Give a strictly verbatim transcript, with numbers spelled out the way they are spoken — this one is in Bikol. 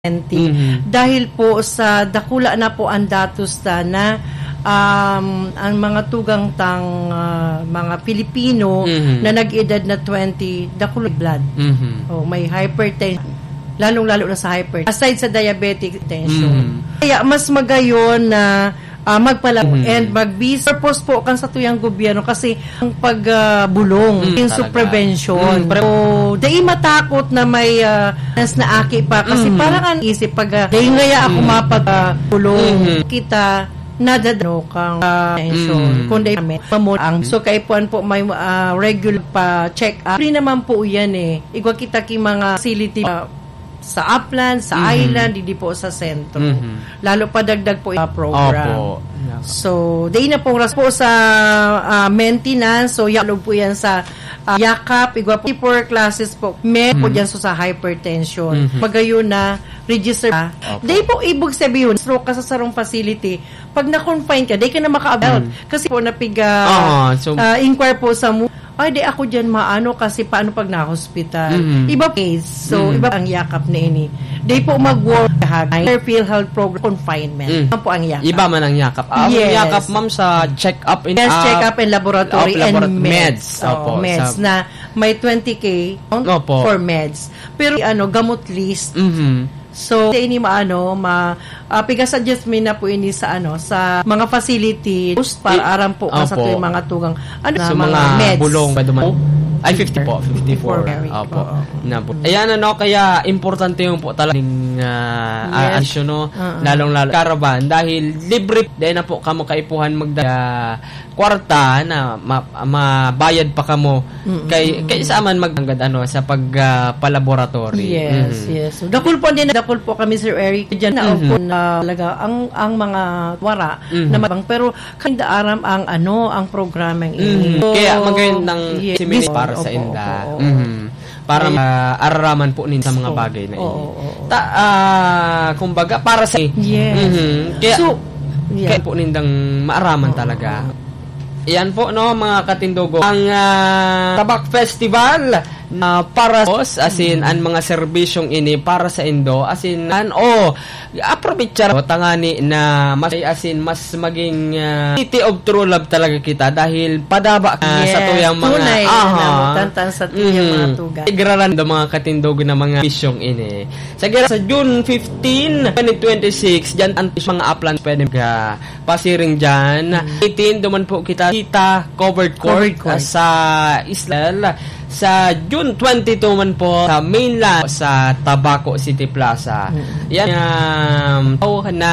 twenty. Mhm. Dahil po sa dakula na po ang datos ta na, um, ang mga tugang tang, ah, mga Pilipino Mhm. na nag-edad na twenty, dakula blood. Mhm. Oh, may hypertension. Lalong-lalo na sa hyper-, aside sa diabetic tension. Mhm. Kaya mas magayon na, ah, magpalabo Mhm. and magbis-, purpose po kan satuyang gobyerno kasi ang pag, ah, bulong, Mm, yung talaga. Prevention. Mm, pre- So, dai matakot na may, ah, nas na aki pa kasi Mm. parang ang isip pag, ah, dai ngaya ako Mm. mapag, ah, bulong. Mhm. Kita nadadano kang, ah, atensyon. Mm. Kundi kami, mamon ang, Mm. so, kaipuhan po may, ah, regular pa check up. Free naman po yan eh. Igwa kita ki mga facility, ah, sa upland, sa Mhm. island, didi po sa sentro. Mhm. Lalo pa dagdag po yung program. Opo. Yeah. So, dai na pong ras po sa, ah, maintenance. So, yalog po yan sa, ah, yakap, igwa po for classes po. May po Mhm. dyan so sa hypertension. Mhm. Magayon na, register ka. Opo. Dai po ibig sabihin, stroke ka sa sarong facility. Pag na-confine ka, dai ka na maka-avail. Mhm. Kasi po, napiga, Ah, so ah, inquire po sa mu-, "Ay, di ako dyan maano kasi paano pag na-hospital?" Mhm. Iba case. So, Mhm. iba ang yakap na ini. Di po mag-work, PhilHealth program, confinement. Mhm. Yan po ang yakap. Iba man ang yakap. Ah, ang Yes. yakap, ma'am, sa check-up in, Yes, ah, check-up and laboratory of labora-, and meds. meds. Oo, Opo, meds sa na may twenty K Opo. for meds. Pero, ano, gamot list. Mhm. So, ini maano, ma-, ah, piga-suggest mi na po ini sa, ano, sa mga facility, para I-, aram po, opo. Sa tuwing mga tugang, ano, Sa na mga mga meds. bulong, ba duman? Ay, fifty po, fifty-four. Fifty-four, very, Opo. oo. Na po. Ayan, ano, kaya importante yung po talaga ning, ah, Yes. ah, issue, no? Oo. Lalong-lalo, caravan, dahil libre, dahil na po kamo kaipuhan magda-, kwarta na ma-, mabayad pa kamo Mm, kay, mm, kay mm. sa man maganggad, ano, sa pag, ah, palaboratory. Yes, Mhm. yes. So, dakul po din, dakul po kami, Sir Eric, dyan na Mhm. opo na talaga ang, ang mga wara Mhm. na mabang, pero kinda aram ang, ano, ang programang ini. Mhm. So, Kaya magandang yes, seminar para sa opo, inda. opo, opo. Mhm. Para Ay. ma-, araraman po ninda sa mga Oo. bagay na Oo, ini. oo, oo. Ta-, ah, kumbaga, para sa Yes. Mhm. Kaya, So, yeah. kaya po nindang maaraman Oo, talaga. oo. Yan po, no, mga katindogo. Ang, ah, Tabak Festival na para sa, as in, Mm. ang mga serbisyong ini para sa indo, as in, an-, oh, aprovechar mo, tangani na mas, as in, mas maging, ah, city of true love talaga kita dahil padaba ka sa Yes, tuyang mga, tunay aha. na namutantan sa tuyang Mm. mga tugang. Igraran do mga katindogo na mga serbisyong ini. Sa gira-, sa June fifteen, twenty twenty-six, dyan ang mga uplands pwede mag-, ah, pasiring dyan. Mm. Eighteen, duman po kita, kita covered court, Covered court. ah, sa Islel. Sa June twenty-two man po, sa mainland, sa Tabaco City Plaza. Mm. Yan, um, tao na